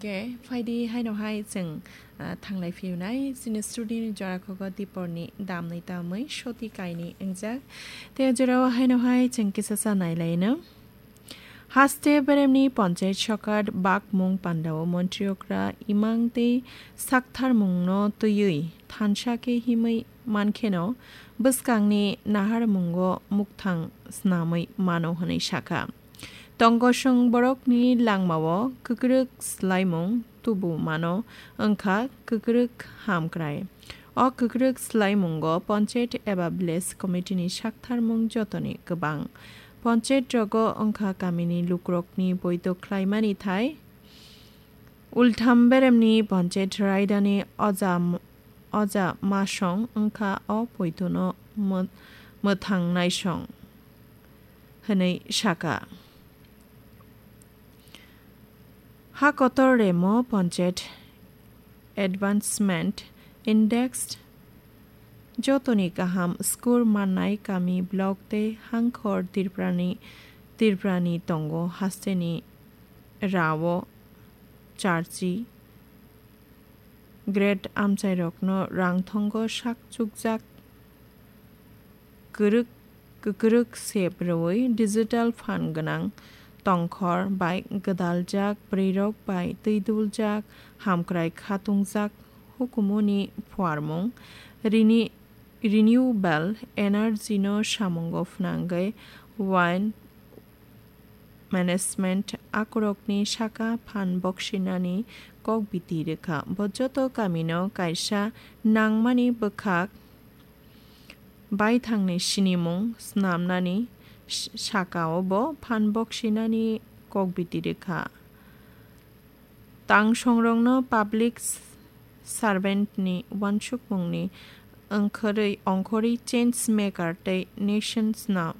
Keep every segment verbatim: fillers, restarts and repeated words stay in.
Ke phaidi haino hai chwng, ah, thanglai phiyunai chini studio ni jora khogo Dipor ni damni tamwi soti kaini wngjak. Tei o jora o haino hai chwng kisa sa nai lai no. Haste beremni panchayat sokat bakmung pandao montri okra imang tei saktharmung no twiwi thansa khe himwi mankheno bwskangni naharmungo mukthang snamwi mano hwnwi sakha. Tongkosong borokni langmao kwkrwk swlaimung tubu mano wngkha kwkrwk hamkrai. O kwkrwk swlaimungo panchayat eba village committee ni saktharmung jotoni kwbang. Panchayat rogo wngkha kamini lukrokni boito khlaimani thai. Ultham beremni panchayat raidani oja m-, oja masong wngkha o poitono mw-, mwthang naisong hwnwi sakha. Ha kotor remo panchayat advancement index jotoni kaham score mannai kami block tei hangkhor Tripurani, Tripurani tongo hasteni rao charchi grade amchairokno rang thongo sak chukjak kwrwk, kwkrwk sep rwui digital phan gwnang tongkhor bai gwdaljak bwrwirok bai twiduljak hamkrai khatungjak hukumuni phuarmung rini-, renewable energy no samungo phnangwi wine management akorokni saka phan boksinani kokbiti rwkha. Bo joto kamino kaisa nangmani bwkhak baithangni sinimung snamnani s-, sakao bo phan boksinani kokbiti rwkha. Tangsongrokno public s-, servant ni uansukmungni ongkhorwi, ongkhorwi change maker tei nation sna-,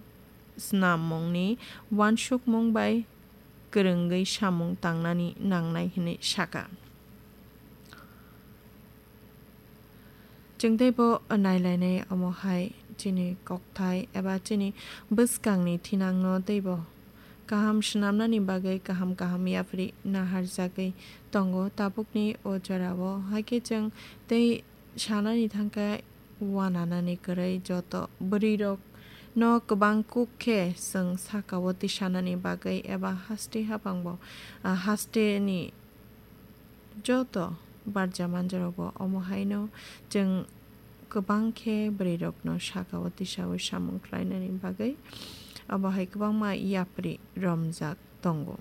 snammungni uansukmung bai kwrwngwi samung tangnani nangnai hwnwi sakha. Chwng teibo nailainai omo hai chini kokthai eba chini bwskangni thinangno teibo kaham swnamnani bagwi kaham kaham yapri naharjagwi tongo tabukni o jorao. Haikhe chwng tei sanani thangkhe uananani kwrwi joto bwrwirokno kwbang kuk khe chwng sakao tisanani bagwi eba haste hapangbo, ah, hasteni joto barja manjarogo omo haino chwng kwbang khe bwrwirokno sakao tisaui samung khlainani bagwi abo hai kwbangma yapri romjak tongo.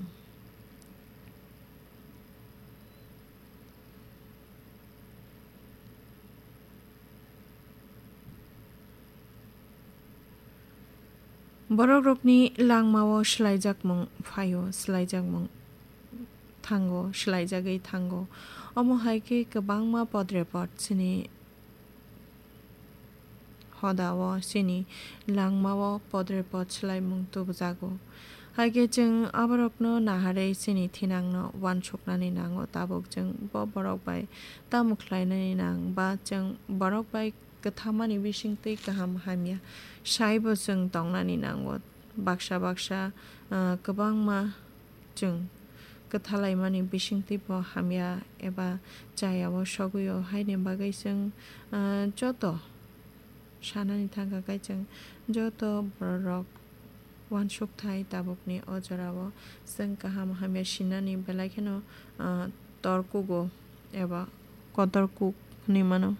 Borokrokni langmao swlaijakmung phaio, swlaijakmung thango, swlaijagwi thango. Omo hai khe kwbangma podrepot chini hodao, chini langmao podrepot swlaimung tubujago. Hai khe chwng aborokno naharwi chini thinangno uansuknani nango, tabuk chwng bo borok bai tamo khlainani nang ba chwng borok bai kwthamani bisingtwi kaham hamya saibo chwng tongnani nango. Baksa baksa, ah, kwbangma chwng kwthalaimani bisingtwibo hamya eba chayao sogwio, haini bagwi chwng, ah, joto sanani thangkha khe chwng joto bororok uansukthai tabukni o jorao chwng kaham hamya sinani belai kheno, ah, torkugo eba kotor kuk hwnwi mano.